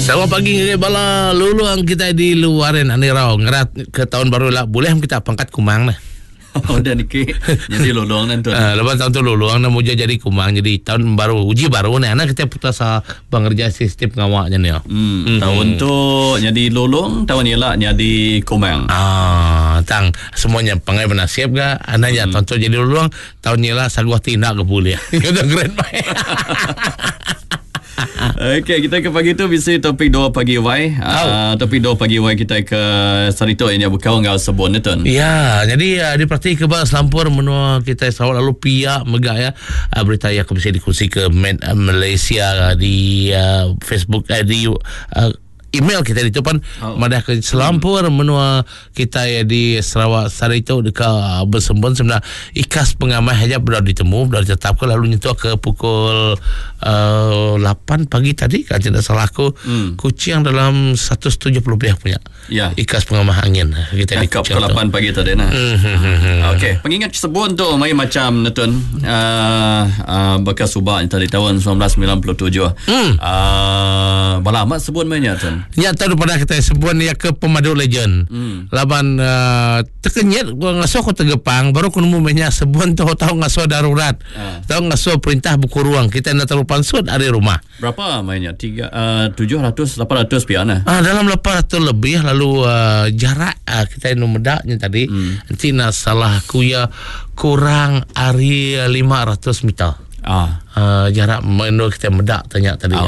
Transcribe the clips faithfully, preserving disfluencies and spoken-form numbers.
Selamat pagi ngagai bala luluang kita di luarin anirau ngerat ke tahun baru lah boleh kita pangkat kumang lah. Oh, dan niki jadi luluang nanti. Uh, lepas tahun tu luluang nak muja jadi kumang jadi tahun baru uji baru ni anak kita putus pengerja sistem pengawaknya ni. Hmm, mm-hmm. Tahun tu jadi lulung, tahun ni lah jadi kumang. Ah, tang semuanya pangai bernasib ga anaknya hmm. Tahun tu jadi luluang, tahun ni lah saguah tindak ke boleh. Itu keren baik. Okey, kita ke pagi tu bisa topik dua pagi Y. Uh, topik dua pagi Y kita ke Sarito ini buka ngau sebun itu. Ya, jadi uh, diperhati ke bawah selampur menua kita Sarawak lalu pihak megak ya. Uh, berita yang bisa dikongsi ke Malaysia uh, di uh, Facebook uh, di uh, email kita di tu pan oh. Madah ke selampur hmm. Menua kita ya di Sarawak Sarito dekat bersembun sebenarnya ikas pengamai aja sudah ditemu sudah ditetapkan lalu nyentuh ke pukul uh, lapan pagi tadi kan tidak salah aku hmm. Kuching dalam seratus tujuh puluh lebih punya ya. Ikas pengamah angin kita di pukul lapan pagi tadi nah. Hmm. Okey, pengingat sebun tu mai macam netun uh, uh, bekas subak tadi tahun sembilan belas sembilan puluh tujuh. Hmm. Uh, bala amat sebun mainnya tun. Ya tahu pada kita sebun ya ke pemadu legend. Hmm. Laban uh, terkenyit gua ngasuh aku tergepang baru aku nemu banyak sebun tu tahu ngasuh darurat. Uh. Tahu ngasuh perintah buku ruang kita nak terlalu pansut dari rumah. Berapa mainnya? Tiga uh, tujuh ratus lapan ratus piana. Ah dalam lapan ratus lebih lalu uh, jarak uh, kita nu medaknya tadi hmm. Nanti nak salah aku ya kurang ari lima ratus meter. Ah, uh, jarak menurut kita medak tanya tadi. Oh.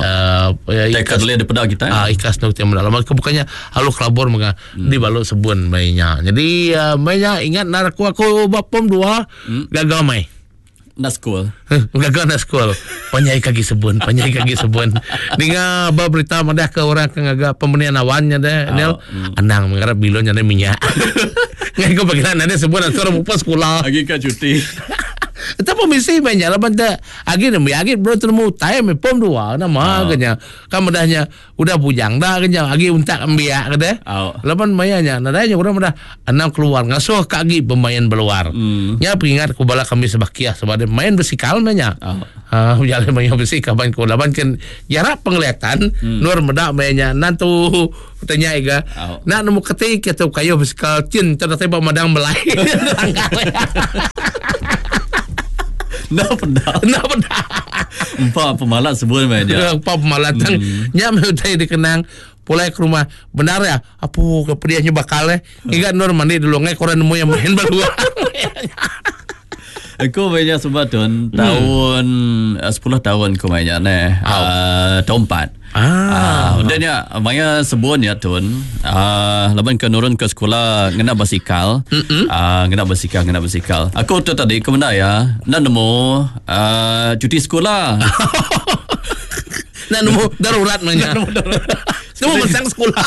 Uh, ikas lihat daripada kita. Ah, uh, ikas nu kita medak. Lama bukannya halu kelabur menga hmm. Di balok sebun mainnya. Jadi uh, mainnya ingat nar aku aku bapom dua hmm. Gagal mai. Nak school. Gagal nak school. Penyai kaki sebun, penyai kaki sebun. Dengar berita madah ke orang ke ngagak pembenian awannya deh. Oh. Nel, Hmm. anang mengharap bilonnya ada minyak. Ngai ko bagian ada sebun antara mupa sekolah. Lagi ka cuti. Tapi mesti banyak lah benda. Agi nemu, agi bro temu time pom dua nama oh. Kenya. Kan medahnya udah bujang dah kenya. Agi untak ambiak ke deh. Oh. Lapan mayanya nadanya orang dah enam keluar ngasuh ka agi pemain berluar. Hmm. Nya peringat ku bala kami sebakiah sebab main besikal nya. Oh. Ha jalan main besikal ban ku laban kan jarak penglihatan hmm. Nur medak mainnya nantu tanya iga. Oh. Nak nemu ketik atau kayu besikal cin ternyata madang belai. Nah pedah. Nah pedah. Empat pemalat sebun main dia. Empat pemalat hmm. Nyam utai dikenang pulai ke rumah. Benar ya? Apa kepediannya bakal eh? Ingat Nur mandi dulu ngai koran nemu yang main baru. Aku mainnya sebab tu tahun hmm. sepuluh tahun aku mainnya ne. Uh, tahun empat. Ah, uh, dan ya maya sebun ya tun. Ah, uh, laban ke nurun ke sekolah ngena basikal. Ah, uh, ngena basikal, ngena basikal. Aku tu tadi ke mana ya? Nak nemu uh, cuti sekolah. Nak nemu darurat mainnya. Nak nemu darurat. Nemu mesang sekolah.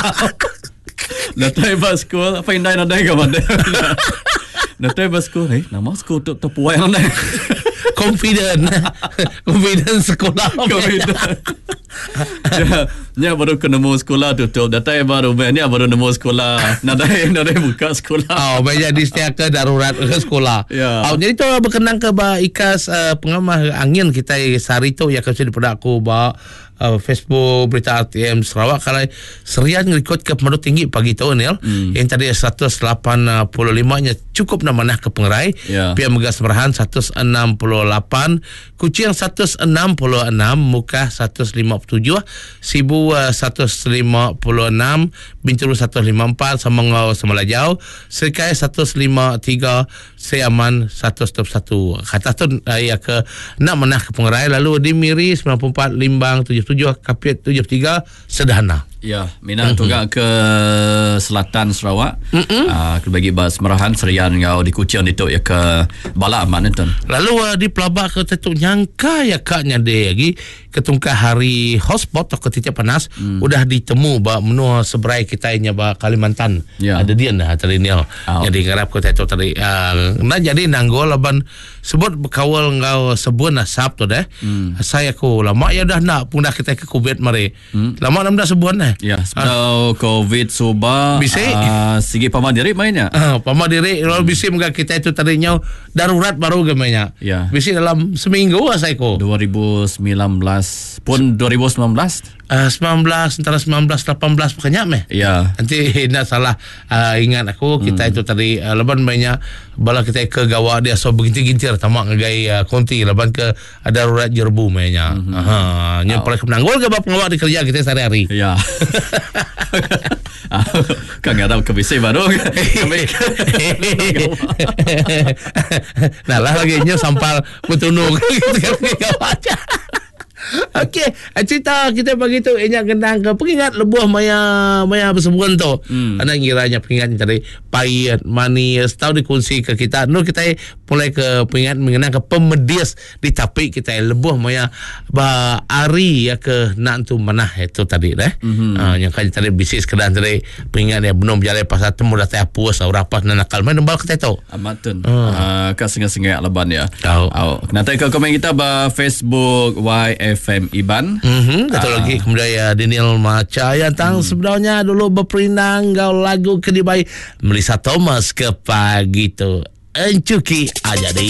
Datai bas sekolah, apa indai nadai ke mana? Datai bas sekolah, eh, nama sekolah tu terpuai nadai. Confident. Confident sekolah. Confident. Ya, nya baru kena nemu sekolah tutup. Datai baru nya baru nemu sekolah. Nadai nadai buka sekolah. Oh, banyak di setiap ke darurat ke sekolah. Ya. Oh, jadi tu berkenang ke ba ikas uh, pengamah angin kita sehari tu ya kasi daripada aku ba uh, Facebook berita R T M Sarawak kalau Serian rekod ke pemandu tinggi pagi tu ni hmm. Yang tadi seratus lapan puluh lima nya cukup nak manah ke pengerai. Ya. Pihak Megas Merahan seratus enam puluh lapan, Kuching seratus enam puluh enam, Mukah seratus lima puluh tujuh, Sibu uh, seratus lima puluh enam, Bintulu seratus lima puluh empat, Semangau Semalajau, Serikai seratus lima puluh tiga, Siaman seratus dua puluh satu. Kata tu uh, ya ke nak menah ke pengerai lalu di Miri sembilan puluh empat, Limbang tujuh puluh tujuh, Kapit tujuh puluh tiga, sederhana. Ya, minat mm-hmm. juga ke selatan Sarawak. Mm-hmm. Uh, bagi bas Merahan Serian ngau di Kuching itu ya ke Balak amat nonton. Lalu uh, di Pelabak ke tentu nyangka ya kaknya dia lagi ketungkah hari hotspot atau ketika panas mm. udah ditemu ba menua seberai kita nya ba Kalimantan. Ya. Ada dia nah tadi ni. Oh. Jadi ngarap ke tentu tadi uh, nah jadi nanggol laban sebut berkawal ngau sebun asap tu deh. Mm. Saya aku lama ya dah nak pundah kita ke Kubet mari. Mm. Lama nam dah sebun eh. meh. Ya, sebedau COVID suba Bisi. Uh, sigi pama diri mainnya. Uh, pama diri lalu bisi mega kita itu tadi nyau darurat baru ke mainnya. Ya. Bisi dalam seminggu asai ko. dua ribu sembilan belas pun dua ribu sembilan belas. Uh, sembilan belas antara sembilan belas lapan belas pokoknya meh. Ya. Nanti nak salah uh, ingat aku kita hmm. itu tadi uh, leban banyak bala kita ke gawa dia so begintir-gintir tamak ngagai uh, konti leban ke darurat jerbu mainnya. Hmm. Ha, nya paling penanggul ke bab pengawak di kerja kita sehari-hari. Ya. Kan ngarap ke bisi baru. Nah lah lagi nya sampal bertunung kita. Okey, cerita kita pagi tu ingat gendang ke pengingat lebuh maya maya bersebuan tu. Hmm. Anak ngiranya pengingat tadi pahit, manis, tahu dikongsi ke kita. Nu kita mulai ke pengingat mengenang ke pemedis di tapi kita lebuh maya ba ari ya ke nak tu manah itu tadi deh. Mm-hmm. Uh, yang kan tadi bisik sekedar tadi pengingat dia belum berjalan pasal temu datang apus atau rapat nak nakal main nembal kita tu. Amat tu. Uh. Uh, kat sengah-sengah leban ya. Tahu. Oh, nanti ke komen kita ba Facebook Y F M Iban. Mhm, satu uh. lagi kemudian ya Daniel Maca yang tang hmm. sebenarnya dulu berperindang gau lagu kedibai Melissa Thomas ke pagi tu. Encuki aja di.